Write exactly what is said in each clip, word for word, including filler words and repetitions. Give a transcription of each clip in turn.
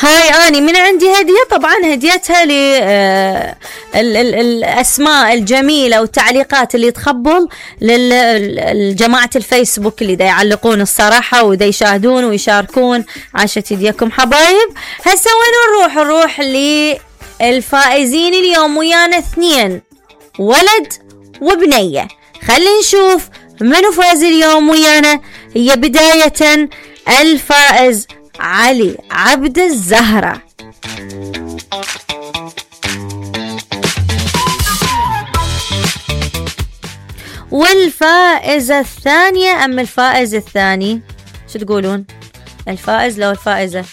هاي أني من عندي هدية، طبعا هديتها للأسماء الجميلة والتعليقات اللي تخبل للجماعة الفيسبوك اللي دا يعلقون الصراحة ودا يشاهدون ويشاركون. عاشت يديكم حبايب. هسا وين نروح؟ نروح للفائزين اليوم ويانا اثنين، ولد وبنية. خلي نشوف منو فاز اليوم ويانا. هي بداية الفائز علي عبد الزهرة. والفائزة الثانية أم الفائز الثاني؟ شو تقولون؟ الفائز لو الفائزة؟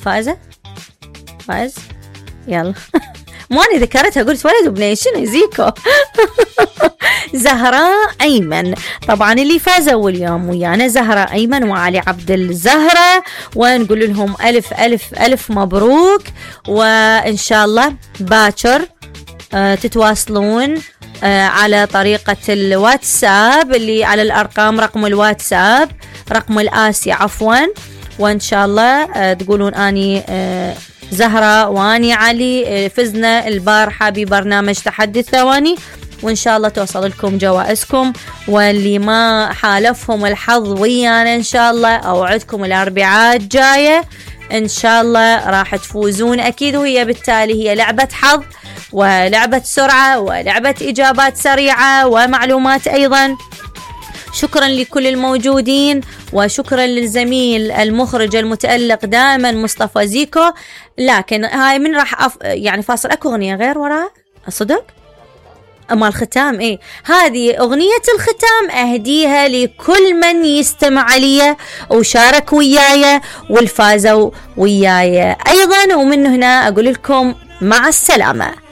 فائزة؟ فائز؟ يلا ماني ذكرتها، قلت ولد وبنية شنو يزيكو. زهراء أيمن. طبعا اللي فازوا اليوم ويانا زهراء أيمن وعلي عبد الزهرة، ونقول لهم ألف ألف ألف مبروك، وإن شاء الله باكر آه تتواصلون آه على طريقة الواتساب اللي على الأرقام، رقم الواتساب رقم الآسي عفوا، وإن شاء الله آه تقولون أني آه زهرة واني علي فزنا البارحة ببرنامج تحدي الثواني، وإن شاء الله توصل لكم جوائزكم. واللي ما حالفهم الحظ ويانا إن شاء الله أوعدكم الأربعاء الجاية إن شاء الله راح تفوزون أكيد. وهي بالتالي هي لعبة حظ ولعبة سرعة ولعبة إجابات سريعة ومعلومات أيضا. شكرا لكل الموجودين، وشكرا للزميل المخرج المتألق دائما مصطفى زيكو. لكن هاي من راح أف... يعني فاصل أكو أغنية غير وراء صدق أما الختام. إيه هذه أغنية الختام أهديها لكل من يستمع لي وشارك وياي والفازوا وياي أيضا. ومن هنا أقول لكم مع السلامة.